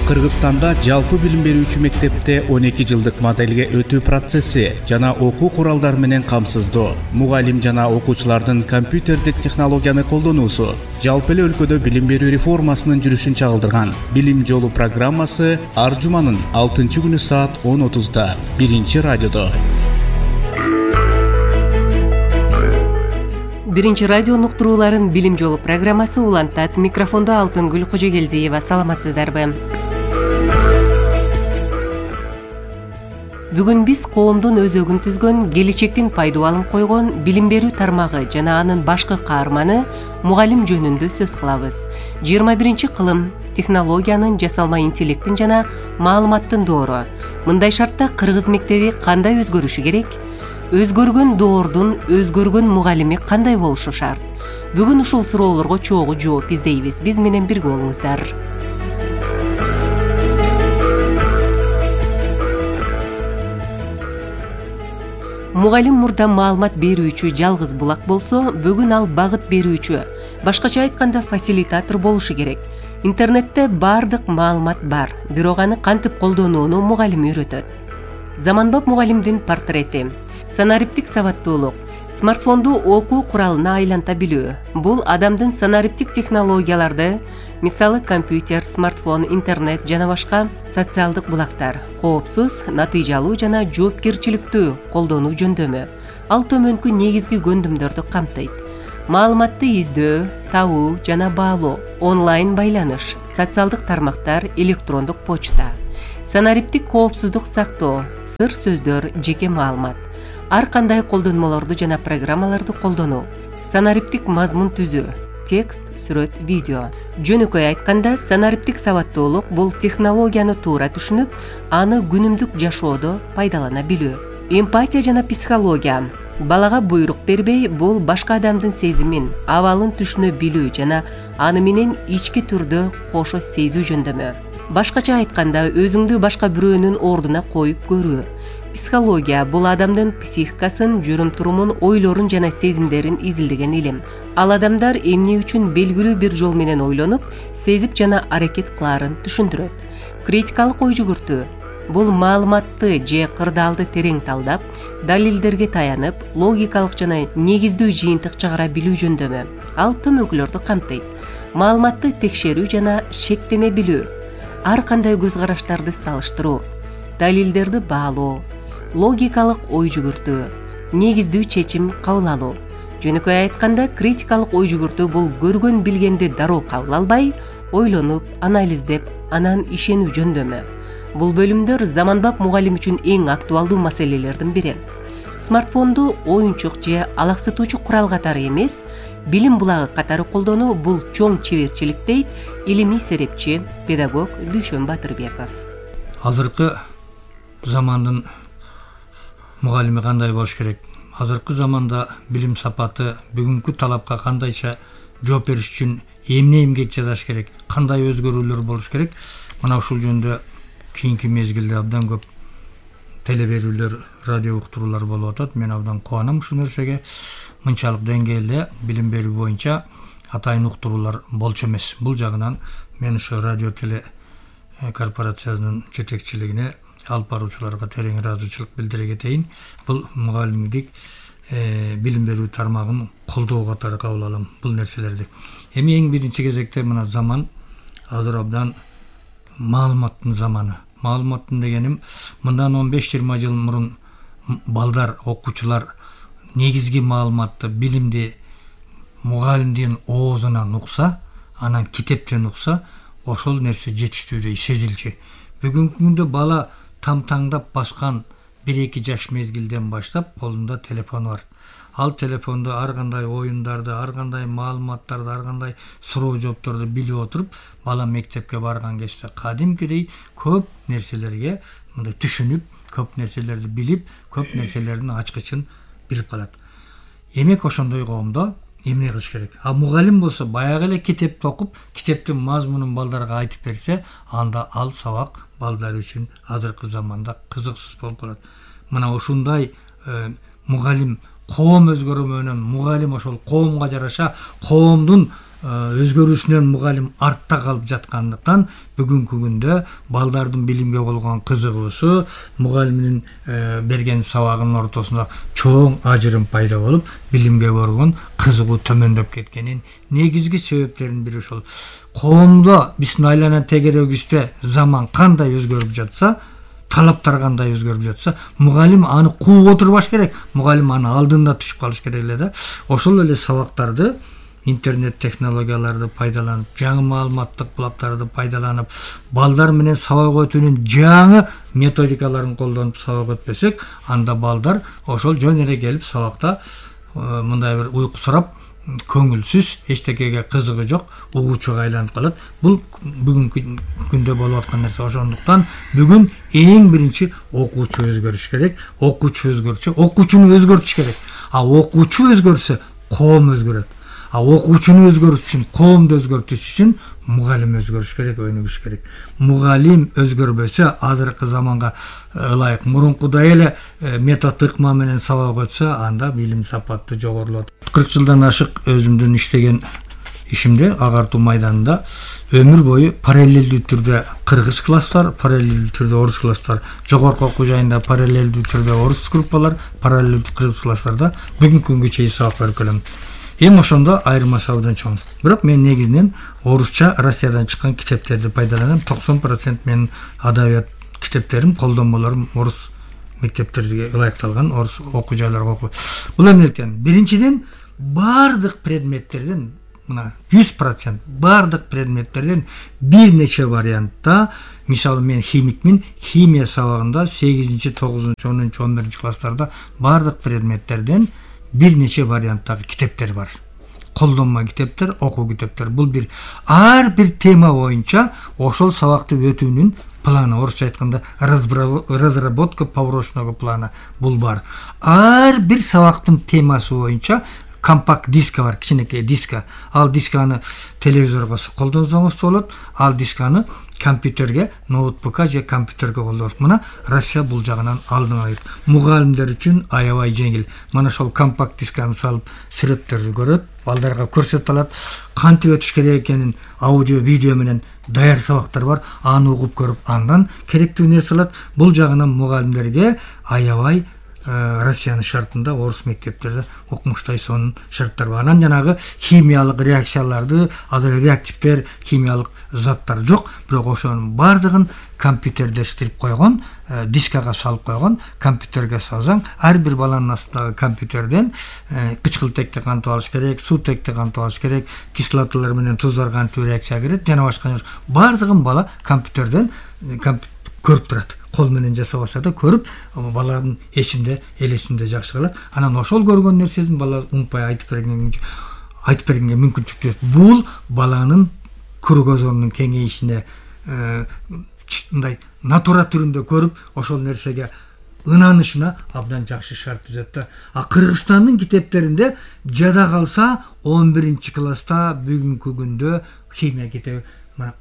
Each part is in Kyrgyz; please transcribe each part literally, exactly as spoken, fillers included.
Кыргызстанда жалпы билим берүүчү мектепте он эки жылдык моделге өтүү процесси жана окуу куралдары менен камсыздоо, мугалим жана окуучулардын компьютердик технологияны колдонуусу жалпы эле өлкөдө билим берүү реформасынын жүрүшүн чагылдырган Билим жолу программасы ар жуманын алтынчы күнү саат он отузда биринчи радиодо. Биринчи радио уктурууларын Билим жолу программасы улантат. Микрофондо Алтынгүл Кожогелдиева. Саламатсыздарбы? Бүгүн биз коомдун өзөгүн түзгөн, келечектин пайдубалын койгон билим берүү тармагы жана анын башкы каарманы мугалим жөнүндө сөз кылабыз. жыйырма биринчи кылым технологиянын, жасалма интеллекттин жана маалыматтын доору. Мындай шартта кыргыз мектеби кандай өзгөрүшү керек? Өзгөргөн доордун өзгөргөн мугалими кандай болушу шарт? Бүгүн ушул суроолорго чогуу жооп издейбиз. Биз менен бирге болуңуздар. Мугалим мурда маалымат берүүчү жалгыз булак болсо, бүгүн ал багыт берүүчү, башкача айтканда фасилитатор болушу керек. Интернетте баардык маалымат бар, бирок аны кантип колдонууну мугалим үйрөтөт. Заманбап мугалимдин портрети. Санариптик сабаттуулук, смартфонду окуу куралына айланта билүү. Бул адамдын санариптик технологияларды, мисалы компьютер, смартфон, интернет жана башка социалдык булактар, коопсуз, натыйжалуу жана жоопкерчиликтүү колдонуу жөндөмү. Ал төмөнкү негизги көндүмдөрдү камтыйт. Маалыматты издөө, табуу жана баалоо, онлайн байланыш, социалдык тармактар, электрондук почта. Санариптик коопсуздук сактоо, сыр сөздөр, жеке маалымат. Ар кандай колдонмолорду жана программаларды колдонуу. Санариптик мазмун түзүү, текст, сүрөт, видео. Жөнөкөй айтканда, санариптик сабаттуулук бул технологияны туура түшүнүп, аны күнүмдүк жашоодо пайдалана билүү. Эмпатия жана психология. Балага буйрук бербей, бул башка адамдын сезимин, абалын түшүнө билүү жана аны менен ички түрдө кошо сезүү жөндөмү. Башкача айтканда, өзүңдү башка бирөөнүн ордуна коюп көрүү. Психология бул адамдын психикасын, жүрүм-турумун, ойлорун жана сезимдерин изилдеген илим. Ал адамдар эмне үчүн белгилүү бир жол менен ойлонуп, сезип жана аракет кылаарын түшүндүрөт. Критикалык ой жүгүртүү бул маалыматты же кырдаалды терең талдап, далилдерге таянып, логикалык жана негиздүү жыйынтык чыгара билүү жөндөмү. Ал төмөнкүлөрдү камтыйт. Маалыматты текшерүү жана шектене билүү. Ар кандай көз караштарды салыштыруу, далилдерди баалоо, логикалык ой жүгүртүү, негиздүү чечим кабыл алуу. Жөнөкөй айтканда, критикалык ой жүгүртүү бул көргөн билгенди дароо кабыл албай, ойлонуп, анализдеп, анан ишенүү жөндөмү. Бул бөлүмдөр заманбап мугалим үчүн эң актуалдуу маселелердин бири. Смартфонду оюнчук же алаксытуучу курал катары эмес, билим булагы катары колдонуу бул чоң чеберчилик дейт илимий серепчи, педагог Дүйшөн Батырбеков. Азыркы замандын мугалими кандай болуш керек? Азыркы заманда билим сапаты бүгүнкү талапка кандайча жооп бериш үчүн эмне эмгек жасаш керек? Кандай өзгөрүүлөр болуш керек? Мына ушул жөнүндө кийинки мезгилде абдан көп телеберүүлөр, радио уктуруулар болуп атат. Мен абдан кубанам ушул нерсеге. Мынчалык деңгээлде билим берүү боюнча атайын уктуруулар болчу эмес. Бул жагынан мен ошо радио теле корпорациясынын жетекчилигине, алып баруучуларга терең ыраазычылык билдире кетейин. Бул мугалимдик билим берүү тармагын колдоо катары кабыл алам бул нерселерди. Эми эң биринчи кезекте мына заман азыр абдан маалыматтын заманы. Маалыматтын дегеним мындан он беш жыйырма жыл мурун балдар, окуучулар негизги маалыматты, билимди мугалимдин оозунан укса, анан китептен укса, ошол нерсе жетиштүүдөй сезилчү. Бүгүнкү күндө бала тамтаңдап баскан бир эки жаш мезгилден баштап колунда телефону бар. Ал телефондо ар кандай оюндарды, ар кандай маалыматтарды, ар кандай суроо жоопторду билип отуруп, бала мектепке барган кезде кадимкидей көп нерселерге мындай түшүнүп, көп нерселерди билип, көп нерселердин ачкычын билип калат. Эмек ошондой коомдо эмне кылыш керек? А мугалим болсо баягы эле китепти окуп, китептин мазмунун балдарга айтып берсе, анда ал сабак балдар үчүн азыркы заманда кызыксыз болуп калат. Мына ушундай мугалим коом өзгөрүү менен мугалим ошол коомго жараша коомдун өзгөрүүсүнөн мугалим артта калып жаткандыктан бүгүнкү күндө балдардын билимге болгон кызыгуусу мугалимдин берген сабагынын ортосунда чоң ажырым пайда болуп билимге болгон кызыгуу төмөндөп кеткенин негизги себептеринин бири ошол. Коомдо биздин айлана тегерегибизде заман кандай өзгөрүп жатса, талаптар кандай өзгөрүп жатса, мугалим аны кууп отурбаш керек, мугалим аны алдында түшүп калыш керек эле да. Ошол эле сабактарды интернет технологияларды пайдаланып, жаңы маалыматтык булактарды пайдаланып, балдар менен сабак өтүүнүн жаңы методикаларын колдонуп сабак өтпөсөк, анда балдар ошол жөн эле келип сабакта мындай бир уйкусурап, көңүлсүз, эчтекеге кызыгы жок, угуучуга айланып калат. Бул бүгүнкү күндө болуп аткан нерсе. Ошондуктан бүгүн эң биринчи окуучу өзгөрүш керек. Окуучу өзгөрчү, окуучуну өзгөртүш керек. А окуучу өзгөрсө, коом өзгөрөт. А окуучуну өзгөртүш үчүн, коомду өзгөртүш үчүн мугалим өзгөрүш керек, өнүгүш керек. Мугалим өзгөрбөсө, азыркы заманга ылайык мурункудай эле метод ыкма менен сабак өтсө, анда билим сапаты жогорулот. кырк жылдан ашык өзүмдүн иштеген ишимде агартуу майданында өмүр бою параллелдүү түрдө кыргыз класстар, параллелдүү түрдө орус класстар, жогорку окуу жайында параллелдүү түрдө орус группалар, параллелдүү кыргыз класстарда бүгүнкү күнгө чейин сабак берип келем. Эми ошондо айырмасы абдан чоң. Бирок мен негизинен орусча Россиядан чыккан китептерди пайдаланам. токсон процент менин адабият китептерим, колдонмолорум орус мектептерге ылайыкталган, орус окуу жайларга окуу. Бул эмнеликтен? Биринчиден, бардык предметтерден, мына жүз процент бардык предметтерден бир нече вариантта, мисалы мен химикмин, химия сабагында сегизинчи, тогузунчу, онунчу, он биринчи класстарда бардык предметтерден бир нече варианттагы китептер бар. Колдонма китептер, окуу китептер. Бул бир ар бир тема боюнча ошол сабакты өтүүнүн планы, орусча айтканда разработка побочного плана бул бар. Ар бир сабактын темасы боюнча компакт диска бар, кичинекей диска. Ал дисканы телевизорго колдонсоңуз болот, ал дисканы компьютерге, ноутбукка же компьютерге колдонот. Мына Россия бул жагынан алдын алат. Мугалимдер үчүн аябай жеңил. Мына ошол компакт дисканы салып сүрөттөрдү көрөт, балдарга көрсөтө алат. Кантип өтүш керек экенин аудио, видео менен даяр сабактар бар. Аны угуп көрүп, андан керектүү нерсе алат. Бул жагынан мугалимдерге аябай Россиянын шартында орус мектептерде окумуштай сонун шарттар бар. Анан жанагы химиялык реакцияларды, азыр реактивдер, химиялык заттар жок, бирок ошонун бардыгын компьютердештирип койгон, дискага салып койгон, компьютерге салсаң, ар бир баланын астындагы компьютерден кычкылтекти кантип алыш керек, суутекти кантип алыш керек, кислоталар менен туздар кантип реакция берет, жана башка бардыгын бала компьютерден көрүп турат. Кол менен жасап алса да көрүп, баланын эсинде, элесинде жакшы калат. Анан ошол көргөн нерсесин бала унутпай айтып берген айтып бергенге мүмкүнчүлүк берет. Бул баланын көргөзөрүнүн кеңейишине мындай натура түрүндө көрүп, ошол нерсеге ынанышына абдан жакшы шарт түзөт да. А Кыргызстандын китептеринде жада калса он биринчи класста бүгүнкү күндө химия китеби,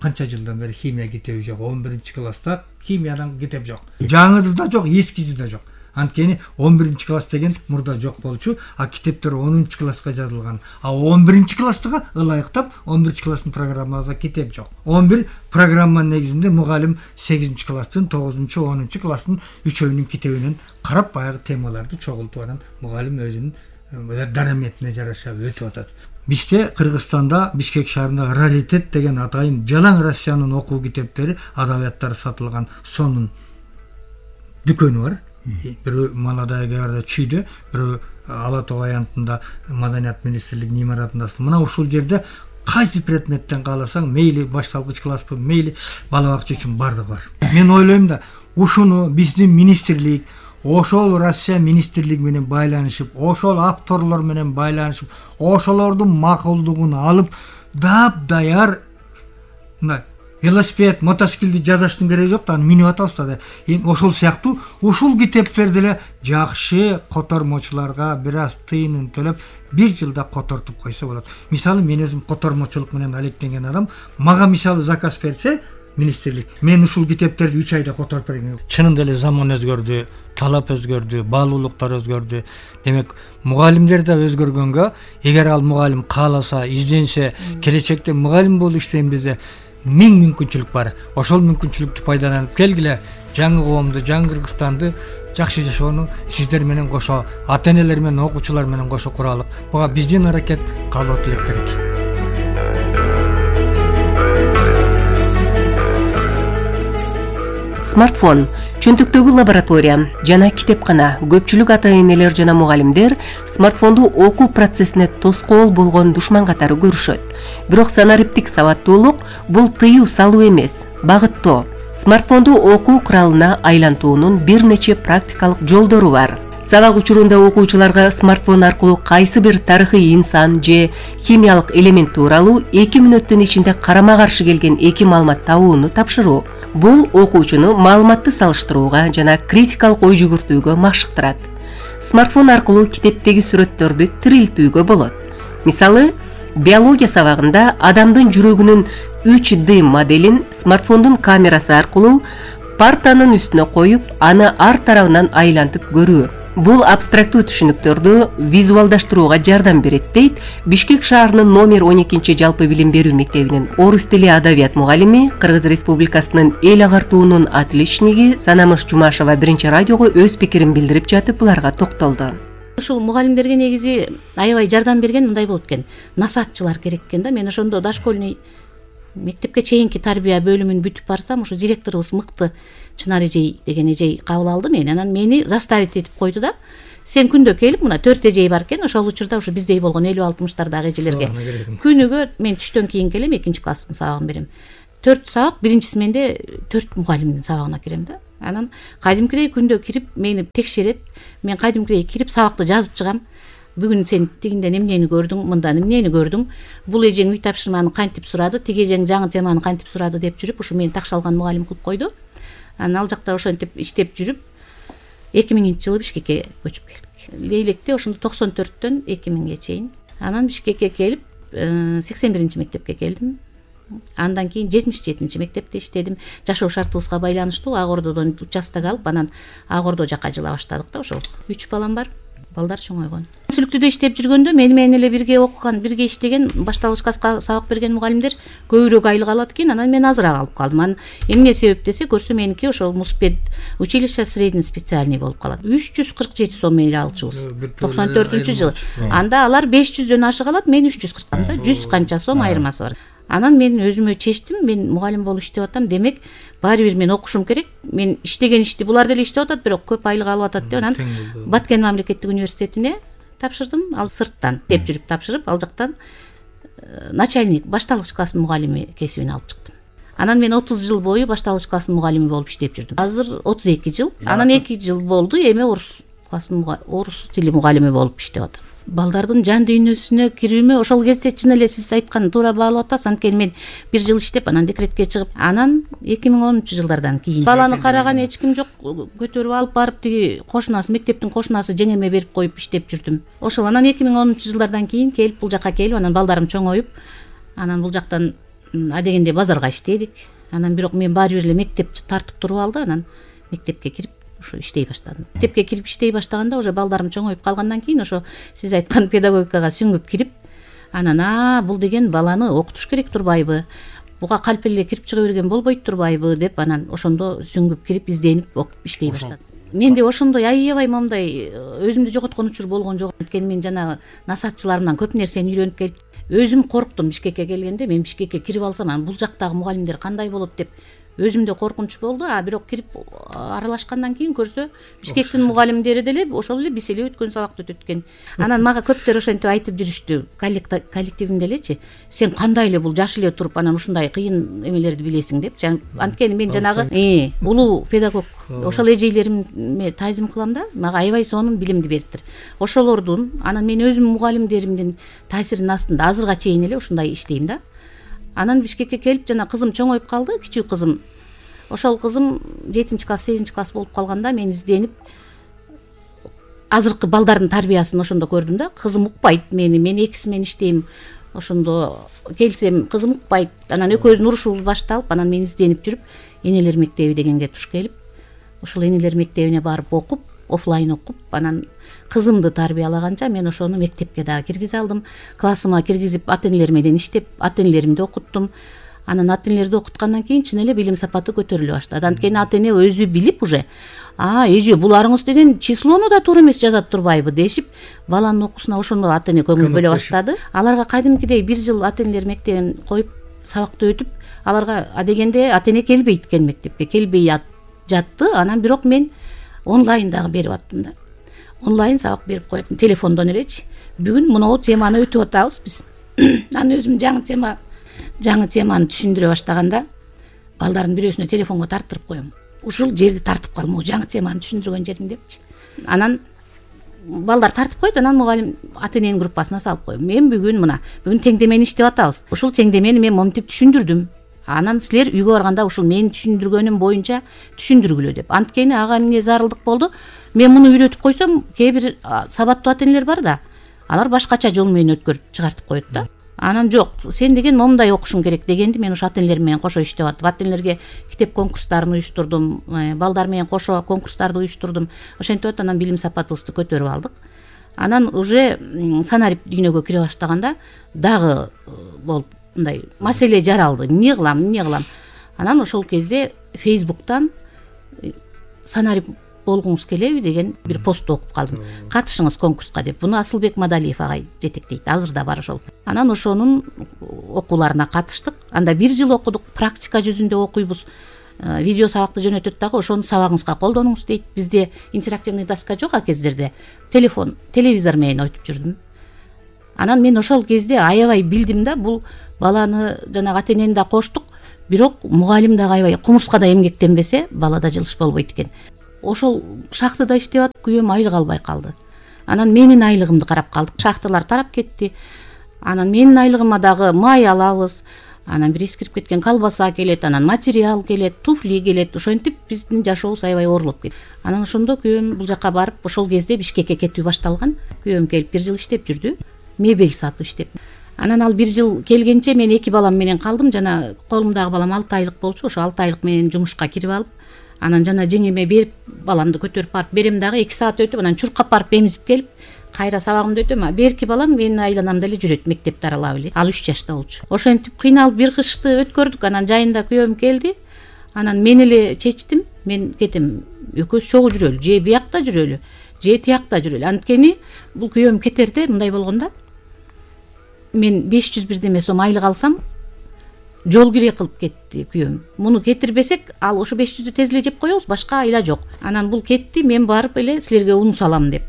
канча жылдан бери химия китеби жок. он биринчи класста химиядан китеп жок. Жаңысы да жок, эскиси да жок. Анткени он биринчи класс деген мурда жок болчу, а китептер онунчу класска жазылган. А он биринчи класстыга ылайыктап он биринчи класстын программасында китеп жок. он бир программанын негизинде мугалим сегизинчи класстын, тогузунчу, онунчу класстын үчөөнүн китебинен карап баягы темаларды чогултуп анан мугалим өзүнүн дараметине жараша өтүп атат. Бизде Кыргызстанда, Бишкек шаарында раритет деген атайын жалаң Россиянын окуу китептери, адабияттары сатылган сонун дүкөнү бар. Бирөө Молодая гвардия Чүйдө, бирөө Ала Тоо аянтында Маданият министрлигинин имаратында. Мына ушул жерде кайсы предметтен кааласаң, мейли башталгыч класспы, мейли бала бакча үчүн бардыгы бар. Мен ойлойм да, ушуну биздин министрлик, ошол Россия министрлиги менен байланышып, ошол авторлор менен байланышып, ошолордун макулдугун алып, дап-даяр мына велосипед, мотоциклди жасаштын кереги жок да, аны минип атабыз да. Эми ошол сыяктуу ушул китептерди эле жакшы котормочуларга бир аз тыйынын төлөп бир жылда котортуп койсо болот. Мисалы мен өзүм котормочулук менен алектенген адам, мага мисалы заказ берсе, министрлик мен ушул китептерди үч айда которуп берем. Чынында эле заман өзгөрдү, талап өзгөрдү, баалуулуктар өзгөрдү. Демек мугалимдер да өзгөргөнгө, эгер ал мугалим кааласа, изденсе, келечекте мугалим болуп иштейм десе, миң мүмкүнчүлүк бар. Ошол мүмкүнчүлүктү пайдаланып келгиле, жаңы коомду, жаңы Кыргызстанды жакшы жашоону сиздер менен кошо, ата-энелер менен, окуучулар менен кошо куралык. Буга биздин аракет калуу тилек керек. Смартфон, чөнтөктөгү лаборатория жана китепкана көпчүлүк ата-энелер жана мугалимдер смартфонду окуу процессине тоскоол болгон душман катары көрүшөт. Бирок санариптик сабаттуулук бул тыюу салуу эмес, багыттоо. Смартфонду окуу куралына айлантуунун бир нече практикалык жолдору бар. Сабак учурунда окуучуларга смартфон аркылуу кайсы бир тарыхый инсан же химиялык элемент тууралуу эки мүнөттүн ичинде карама-каршы келген эки маалымат табууну тапшыруу. Бул окуучуну маалыматты салыштырууга жана критикалык ой жүгүртүүгө машыктырат. Смартфон аркылуу китептеги сүрөттөрдү тирилтүүгө болот. Мисалы, биология сабагында адамдын жүрөгүнүн үч дэ моделин смартфондун камерасы аркылуу партанын үстүнө коюп, аны ар тарабынан айлантып көрүү. Бул абстрактуу түшүнүктөрдү визуалдаштырууга жардам берет, дейт Бишкек шаарынын номер он экинчи жалпы билим берүү мектебинин орус тили адабият мугалими, Кыргыз Республикасынын эл агартуунун отличниги Санамыш Жумашева биринчи радиого өз пикирин билдирип жатып буларга токтолду. Ушул мугалимдерге негизи аябай жардам берген мындай болот экен. Насаатчылар керек экен да. Мен ошондо дошкольный мектепке чейинки тарбия бөлүмүн бүтүп барсам, ушу директорубуз мыкты Чынар эжей деген эжей кабыл алды мени. Анан мени заставить этип койду да. Сен күндө келип, мына төрт эжей бар экен, ошол учурда ушу биздей болгон элүү алтымыштардагы эжелерге. Күнүгө мен түштөн кийин келем, экинчи класстын сабагын берем. төрт сабак, биринчи сменде төрт мугалимдин сабагына кирем да. Анан кайдымкидей күндө кирип мени текшерет. Мен кайдымкидей кирип сабакты жазып чыгам. Бүгүн сен тигинде эмнени көрдүң, мында эмнени көрдүң? Бул эжең үй тапшырманы кантип сурады, тиги эжең жаңы теманы кантип сурады деп жүрүп, ушу мени такшалган мугалим кылып койду. Анан ал жакта ошентип иштеп жүрүп, эки миңинчи жылы Бишкекке көчүп келдик. Лейлекте ошондо токсон төрттөн эки миңге чейин. Анан Бишкекке келип, сексен биринчи мектепке келдим. Андан кийин жетимиш жетинчи мектепте иштедим. Жашоо шартыбызга байланыштуу Ак Ордодон участок алып, анан Ак Ордо жака жыла баштадык да. Ошол үч балам бар. Балдар чоңойгон. Сүлүктүдө иштеп жүргөндө мени менен эле бирге окуган, бирге иштеген, башталгыч класска сабак берген мугалимдер көбүрөөк айлык алат экен. Анан мен азыраак алып калдым. Анан эмне себеп десе, көрсө меники ошол Муспед училище средний специальный болуп калат. үч жүз кырк жети сом эле алчубыз. токсон төртүнчү жылы. Анда алар беш жүздөн ашык алат, мен үч жүз кырк. Анда жүз канча сом айырмасы бар. Анан мен өзүмө чечтим, мен мугалим болуп иштеп атам, демек баары бир мен окушум керек. Мен иштеген ишти булар деле иштеп атат, бирок көп айлык алып атат деп анан Баткен мамлекеттик университетине тапшырдым. Ал сырттан деп жүрүп тапшырып, ал жактан начальник, башталгыч класстын мугалими кесибин алып чыктым. Анан мен отуз жыл бою башталгыч класстын мугалими болуп иштеп жүрдүм. Азыр отуз эки жыл. Анан эки жыл болду эми орус класстын орус тили мугалими болуп иштеп атам. Балдардын жан дүйнөсүнө кирүүмө ошол кезде чын эле сиз айткан туура баалап атасыз. Анткени мен бир жыл иштеп, анан декретке чыгып, анан эки миң онунчу жылдардан кийин баланы караган эч ким жок, көтөрүп алып барып тиги кошунасы, мектептин кошунасы жеңеме берип коюп иштеп жүрдүм. Ошол анан эки миң онунчу жылдардан кийин келип бул жака келип, анан балдарым чоңоюп, анан бул жактан адегенде базарга иштедик. Анан бирок мен баары бир эле мектеп тартып туруп алды, анан мектепке кирип ошо иштей баштадым. Мектепке кирип иштей баштаганда уже балдарым чоңоюп калгандан кийин ошо сиз айткан педагогикага сүңгүп кирип, анан а бул деген баланы окутуш керек турбайбы? Буга калп эле кирип чыга берген болбойт турбайбы деп анан ошондо сүңгүп кирип изденип окуп иштей баштадым. Менде ошондой аябай момундай өзүмдү жоготкон учур болгон жок. Анткени мен жанагы насаатчыларымдан көп нерсени үйрөнүп келип, өзүм корктум Бишкекке келгенде. Мен Бишкекке кирип алсам, анан бул жактагы мугалимдер кандай болот деп өзүмдө коркунуч болду. А бирок кирип аралашкандан кийин көрсө, Бишкектин мугалимдери деле ошол эле биз эле өткөн сабакты өтөт экен. Анан мага көптөр ошентип айтып жүрүштү, коллективинде элечи, сен кандай эле бул жаш эле туруп анан ушундай кыйын эмелерди билесиң деп. Анткени мен жанагы э улуу педагог ошол эжейлериме таазим кылам да, мага аябай сонун билимди бериптир. Ошолордун, анан мен өзүм мугалимдеримдин таасиринин астында азырга чейин эле ушундай иштейм да. Анан Бишкекке келип, жана кызым чоңоюп калды, кичүү кызым. Ошол кызым жетинчи класс, сегизинчи класс болуп калганда мен изденип азыркы балдардын тарбиясын ошондо көрдүм да. Кызым укпайт мени, мен экиси менен иштейм. ошондо келсем кызым укпайт. Анан экөөбүздүн урушубуз башталып, анан мен изденип жүрүп энелер мектеби дегенге туш келип, ошол энелер мектебине барып окуп, офлайн окуп, анан кызымды тарбиялаганча мен ошону мектепке дагы киргизе алдым. Классыма киргизип, ата энелер менен иштеп, ата энелеримди окуттум. Анан ата энелерди окуткандан кийин чын эле билим сапаты көтөрүлө баштады. Анткени ата эне өзү билип уже, а эже буларыңыз деген числону да туура эмес жазат турбайбы дешип, баланын окуусуна ошондо ата эне көңүл бөлө баштады. Аларга кайдымкидей бир жыл ата энелер мектебин коюп, сабакты өтүп, аларга адегенде ата эне келбейт экен мектепке, келбей жатты. Анан бирок мен онлайн дагы берип аттым да. Онлайн сабак берип коет, телефондон элечи. Бүгүн мынау теманы өтүп атабыз биз. Анан өзүм жаңы тема жаңы теманы түшүндүрө баштаганда балдардын бирөөсүнө телефонго тарттырып коем. Ушул жерди тартып кал, могу жаңы теманы түшүндүргөн жерин депчи. Анан балдар тартып койт, анан мугалим ата эненин группасына салып коем. Мен бүгүн мына, бүгүн теңдемени иштеп атабыз. Ушул теңдемени мен моментип түшүндүрдүм. Анан силер үйгө барганда ушул менин түшүндүргөнүм боюнча түшүндүргүлө деп. Анткени ага эмне зарылдык болду. Мен муну үйрөтүп койсом, кээ бир сабаттуу ата энелер бар да, алар башкача жол менен өткөрүп чыгартып коет да. Анан жок, сен деген момундай окушуң керек дегенди мен ошо ата энелер менен кошо иштеп аттым. Ата энелерге китеп конкурстарын уюштурдум, балдар менен кошо конкурстарды уюштурдум. Ошентип атып анан билим сапатыбызды көтөрүп алдык. Анан уже санарип дүйнөгө кире баштаганда дагы болуп мындай маселе жаралды. Эмне кылам, эмне кылам? Анан ошол кезде Facebook'тан санарип болгуңуз келеби деген бир пост окуп калдым. Катышыңыз конкурска деп. Буну Асылбек Мадалиев агай жетектейт. Азыр да бар ошол. Анан ошонун окууларына катыштык. Анда бир жыл окудук, практика жүзүндө окуйбуз. Видео сабакты жөнөтөт дагы, ошону сабагыңызга колдонуңуз дейт. Бизде интерактивный доска жок а кездерде. Телефон, телевизор менен өтүп жүрдүм. Анан мен ошол кезде аябай билдим да, бул баланы жанагы ата энени да коштук, бирок мугалим да аябай кумурскада эмгектенбесе, балада жылыш болбойт экен. Ошол шахтада иштеп атып, күйөөм айлык албай калды. Анан менин айлыгымды карап калдык. Шахталар тарап кетти. Анан менин айлыгыма дагы май алабыз. Анан бир эскирип кеткен колбаса келет, анан материал келет, туфли келет. Ошентип биздин жашообуз аябай оорлоп кетти. Анан ошондо күйөөм бул жака барып, ошол кезде Бишкекке кетүү башталган. Күйөөм келип бир жыл иштеп жүрдү. Мебель сатып иштеп. Анан ал бир жыл келгенче мен эки балам менен калдым. Жана колумдагы балам алты айлык болчу. Ошо алты айлык менен жумушка кирип алып, анан жана жеңеме берип, баламды көтөрүп барып берем дагы эки саат өтүп, анан чуркап барып эмизип келип, кайра сабагымды өтөм. Берки балам менин айланам деле жүрөт, мектепти аралап эле. Ал үч жашта болчу. Ошентип кыйналып бир кышты өткөрдүк. Анан жайында күйөөм келди. Анан мен эле чечтим, мен кетем. Экөөбүз чогуу жүрөлү, же биякта жүрөлү, же тиякта жүрөлү. Анткени бул күйөөм кетерде мындай болгондо, мен беш жүз бирдеме сом айлык алсам, жол кире кылып кетти күйөөм. Муну кетирбесек, ал ошо беш жүздү тез эле жеп коебуз, башка айла жок. Анан бул кетти, мен барып эле силерге ун салам деп.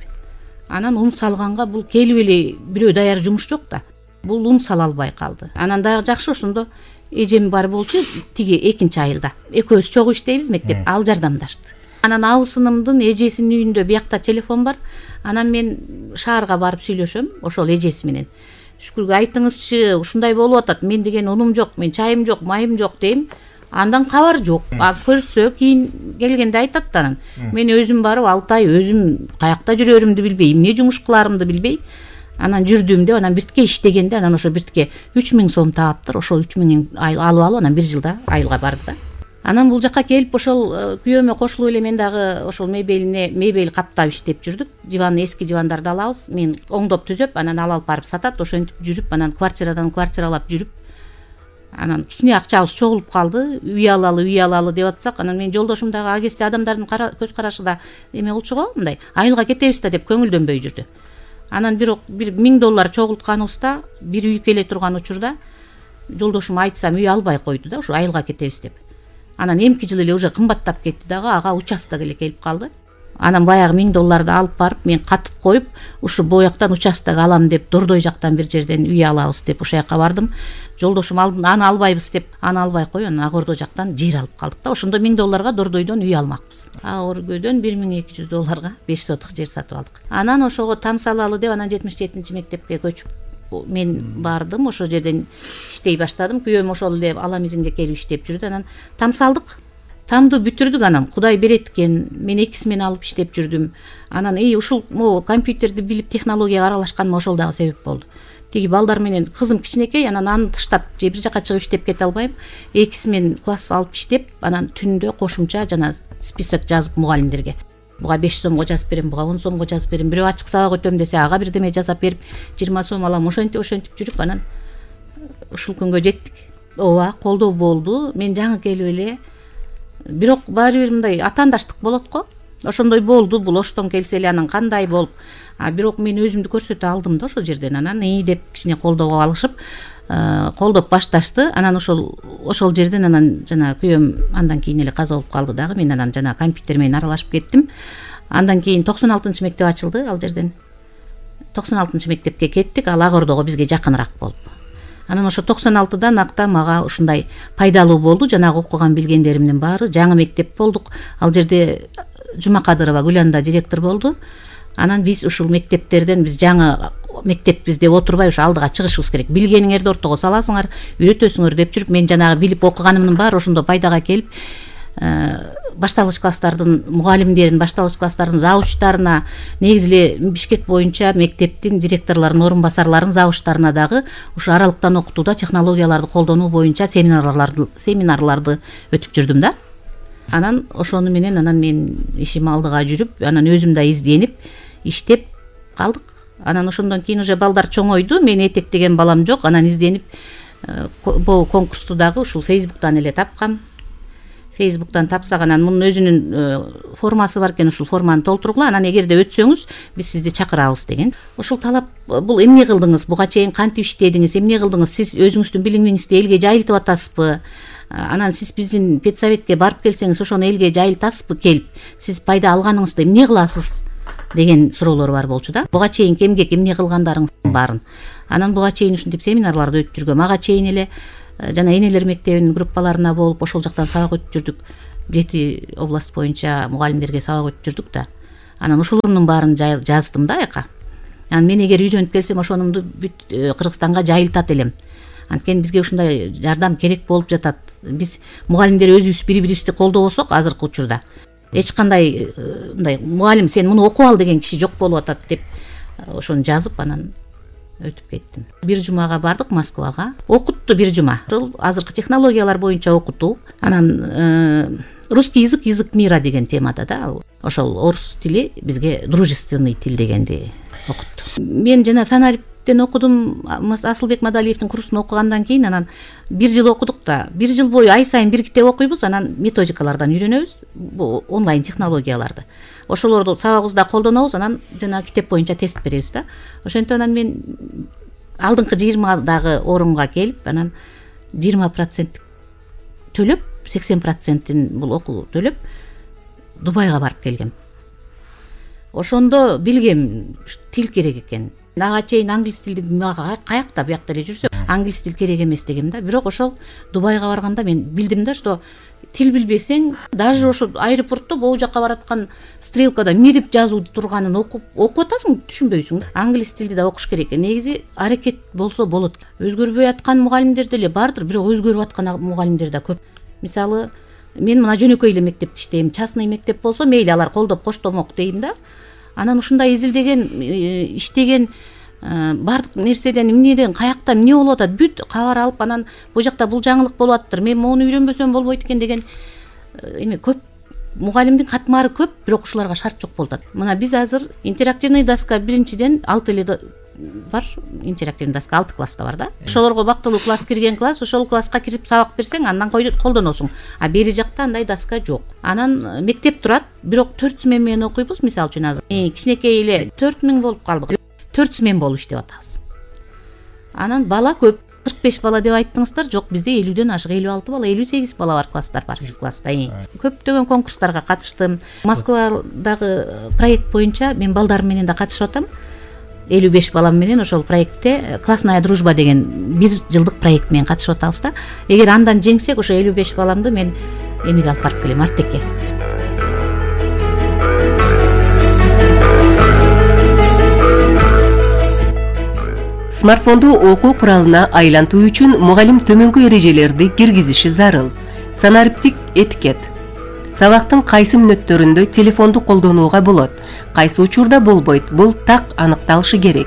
Анан ун салганга бул келип эле бирөө даяр жумуш жок да. Бул ун сала албай калды. Анан дагы жакшы ошондо эжем бар болчу, тиги экинчи айылда. Экөөбүз чогуу иштейбиз мектеп, ал жардамдашты. Анан абысынымдын эжесинин үйүндө биякта телефон бар. Анан мен шаарга барып сүйлөшөм ошол эжеси менен. Шүкүргө айтыңызчы, ушундай болуп атат. Мен деген унум жок, мен чайым жок, майым жок дейм. Андан кабар жок. А көрсө кийин келгенде айтат анан. Мен өзүм барып алты ай өзүм каякта жүрөрүмдү билбей, эмне жумуш кыларымды билбей, анан жүрдүм деп, анан биртке иштегенде, анан ошо биртке үч миң сом таптыр. Ошол үч миңин алып алып, анан бир жылда айылга барды да. Анан бул жака келип ошол күйөөмө кошулуп эле мен дагы ошол мебелине мебель каптап иштеп жүрдүк. Диван, эски дивандарды алабыз. Мен оңдоп түзөп, анан ал алып барып сатат. Ошентип жүрүп, анан квартирадан квартиралап жүрүп, анан кичине акчабыз чогулуп калды. Үй алалы, үй алалы деп атсак, анан мен жолдошум дагы а кезде адамдардын көз карашы да эме болчу го, мындай айылга кетебиз да деп көңүлдөнбөй жүрдү. Анан бирок бир миң доллар чогултканыбызда, бир үй келе турган учурда жолдошум айтсам үй албай койду да, ушу айылга кетебиз деп. Анан эмки жыл эле уже кымбаттап кетти дагы, ага участок эле келип калды. Анан баягы миң долларды алып барып, мен катып коюп, ушу бояктан участок алам деп, Дордой жактан бир жерден үй алабыз деп ошол жака бардым. Жолдошум алдын, аны албайбыз деп, аны албай кой, анан Ак Ордо жактан жер алып калдык да. Ошондо миң долларга Дордойдон үй алмакпыз. Ак Ордодон бир миң эки жүз долларга беш соток жер сатып алдык. Анан ошого там салалы деп, анан жетимиш жетинчи мектепке көчүп мен бардым, ошол жерден иштей баштадым. Күйөөм ошол эле Ала Мизинге келип иштеп жүрдү. Анан там салдык. Тамды бүтүрдүк, анан Кудай берет экен. Мен экисимен алып иштеп жүрдүм. Анан эй ушул могу компьютерди билип технологияга аралашканыма ошол дагы себеп болду. тиги балдар менен кызым кичинекей, анан аны таштап же бир жака чыгып иштеп кете албайм. Экиси менен класс алып иштеп, анан түндө кошумча жана список жазып мугалимдерге. Буга беш сомго жазып берем, буга он сомго жазып берем. Бирөө ачык сабак өтөм десе, ага бирдеме жасап берип, жыйырма сом алам. Ошентип ошентип жүрүп, анан ушул күнгө жеттик. Ооба, колдоо болду. Мен жаңы келип эле, бирок баары бир мындай атаандаштык болот го. Ошондой болду, бул оштон келсе эле анан кандай болуп. А бирок мен өзүмдү көрсөтө алдым да ошол жерден. Анан ии деп кичине колдоого алышып, колдоп башташты. Анан ошол ошол жерден анан жана күйөөм андан кийин эле каза болуп калды дагы. Мен анан жана компьютер менен аралашып кеттим. Андан кийин токсон алтынчы мектеп ачылды ал жерден. токсон алтынчы мектепке кеттик, ал Ак Ордого бизге жакыныраак болуп. Анан ошо токсон алтыдан акта мага ушундай пайдалуу болду. Жанагы окуган билгендеримдин баары. Жаңы мектеп болдук. Ал жерде Жумакадырова Гүланда директор болду. Анан биз ушул мектептерден биз жаңы мектеппиз деп отурбай ушу алдыга чыгышыбыз керек. Билгениңерди ортого саласыңар, үйрөтөсүңөр деп жүрүп, мен жанагы билип окуганымдын баары ошондо пайдага келип, башталгыч класстардын мугалимдерин, башталгыч класстардын завучтарына, негизи эле Бишкек боюнча мектептин директорлорунун орун басарларынын завучтарына дагы ушу аралыктан окутууда технологияларды колдонуу боюнча семинарларды семинарларды өтүп жүрдүм да. Анан ошону менен анан мен ишим алдыга жүрүп, анан өзүм да изденип иштеп калдык. Анан ошондон кийин уже балдар чоңойду, мен этектеген балам жок. Анан изденип бул конкурсту дагы ушул Facebook'тан эле тапкам. Facebook'тан тапсак, анан мунун өзүнүн формасы бар экен, ушул форманы толтургула, анан эгерде өтсөңүз биз сизди чакырабыз деген. Ушул талап, бул эмне кылдыңыз, буга чейин кантип иштедиңиз, эмне кылдыңыз, сиз өзүңүздүн билимиңизди элге жайылтып атасызбы? Анан сиз биздин педсоветке барып келсеңиз, ошону элге жайылтасызбы келип? Сиз пайда алганыңызды эмне кыласыз деген суроолор бар болчу да. Буга чейин эмгек эмне кылгандарыңыздын баарын. Анан буга чейин ушинтип семинарларды өтүп жүргөм. Ага чейин эле жана энелер мектебинин группаларына болуп, ошол жактан сабак өтүп жүрдүк. Жети область боюнча мугалимдерге сабак өтүп жүрдүк да. Анан ошолордун баарын жаздым да аяка. Анан мен эгер үйрөнүп келсем, ошонумду бүт Кыргызстанга жайылтат элем. Анткени бизге ушундай жардам керек болуп жатат. Биз мугалимдер өзүбүз бири-бирибизди колдобосок, азыркы учурда эч кандай мындай мугалим сен муну окуп ал деген киши жок болуп атат деп ошону жазып, анан өтүп кеттим. Бир жумага бардык Москвага. Окутту бир жума. Ошол азыркы технологиялар боюнча окутуу. Анан русский язык, язык мира деген темада да, ал ошол орус тили бизге дружественный тил дегенди окутту. Мен жана санариптен окудум, Асылбек Мадалиевдин курсун окугандан кийин анан бир жыл окудук да. Бир жыл бою ай сайын бир китеп окуйбуз, анан методикалардан үйрөнөбүз, бул онлайн технологияларды. Ошолорду сабагыбызда колдонобуз, анан жана китеп боюнча тест беребиз да. Ошентип анан мен алдыңкы жыйырмадагы орунга келип, анан жыйырма процент төлөп, сексен процентин бул окуу төлөп Дубайга барып келгем. Ошондо билгем тил керек экен. Ага чейин англис тилди мага каякта биякта эле жүрсө, англис тил керек эмес дегем да. Бирок ошол Дубайга барганда мен билдим да, что тил билбесең, даже ошо аэропортто могу жакка бараткан стрелкада эмне деп жазуу турганын окуп окуп атасың, түшүнбөйсүң. Англис тилди да окуш керек. Негизи аракет болсо болот. Өзгөрбөй аткан мугалимдер деле бардыр, бирок өзгөрүп аткан мугалимдер да көп. Мисалы, мен мына жөнөкөй эле мектепти иштейм. Частный мектеп болсо мейли, алар колдоп коштомок дейм да. Анан ушундай изилдеген, иштеген бардык нерседен эмнеден, каякта эмне болуп атат, бүт кабар алып, анан бул жакта бул жаңылык болуп аттыр, мен моуну үйрөнбөсөм болбойт экен деген эме көп. Мугалимдин катмары көп, бирок ушуларга шарт жок болуп атат. Мына биз азыр интерактивный доска биринчиден алты эле бар, интерактивный доска алты класста бар да. Ошолорго бактылуу класс кирген класс, ошол класска кирип сабак берсең, андан колдоносуң. А бери жакта андай доска жок. Анан мектеп турат, бирок төрт смен менен окуйбуз, мисалы үчүн азыр. Кичинекей эле төрт миң болуп калдык. төрт смен болуп иштеп атабыз. Анан бала көп, кырк беш бала деп айттыңыздар, жок, бизде элүүдөн ашык, элүү алты бала, элүү сегиз бала бар класстар бар класста. Көптөгөн конкурстарга катыштым. Москвадагы проект боюнча мен балдарым менен да катышып атам. элүү беш балам менен ошол проектте классная дружба деген бир жылдык проект менен катышып атабыз да. Эгер андан жеңсек, ошо элүү беш баламды мен эмеге алып барып келем, Артекке. Смартфонду окуу куралына айлантуу үчүн мугалим төмөнкү эрежелерди киргизиши зарыл. Санариптик этикет. Сабактын кайсы мүнөттөрүндө телефонду колдонууга болот, кайсы учурда болбойт, бул так аныкталышы керек.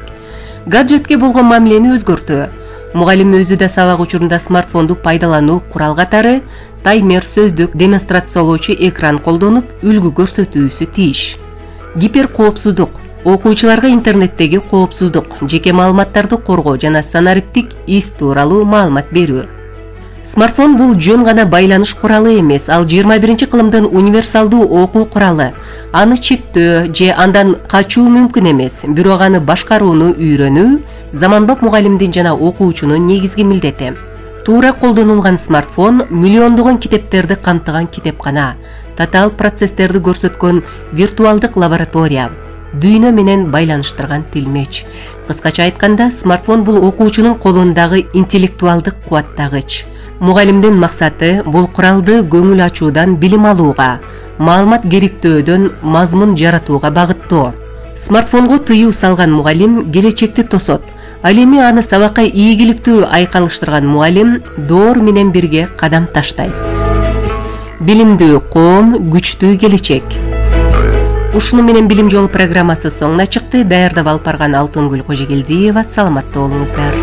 гаджетке болгон мамилени өзгөртүү. Мугалим өзү да сабак учурунда смартфонду пайдалануу курал катары таймер, сөздүк, демонстрациялоочу экран колдонуп, үлгү көрсөтүүсү тийиш. Гиперкоопсуздук. Окуучуларга интернеттеги коопсуздук, жеке маалыматтарды коргоо жана санариптик ис тууралуу маалымат берүү. Смартфон бул жөн гана байланыш куралы эмес, ал жыйырма биринчи кылымдын универсалдуу окуу куралы. Аны чектөө же андан качуу мүмкүн эмес, бирок аны башкарууну үйрөнүү заманбап мугалимдин жана окуучунун негизги милдети. Туура колдонулган смартфон миллиондогон китептерди камтыган китепкана, татаал процесстерди көрсөткөн виртуалдык лаборатория, дүйнө менен байланыштырган тилмеч. Кыскача айтканда, смартфон бул окуучунун колундагы интеллектуалдык кубаттагыч. Мугалимдин максаты бул куралды көңүл ачуудан билим алууга, маалымат керектөөдөн мазмун жаратууга багыттоо. Смартфонго тыюу салган мугалим келечекти тосот. Ал эми аны сабакка ийгиликтүү айкалыштырган мугалим доор менен бирге кадам таштайт. Билимдүү коом, күчтүү келечек. Ушуну менен Билим жолу программасы соңуна чыкты. Даярдап алып барган Алтынгүл Кожогелдиева. Саламатта болуңуздар.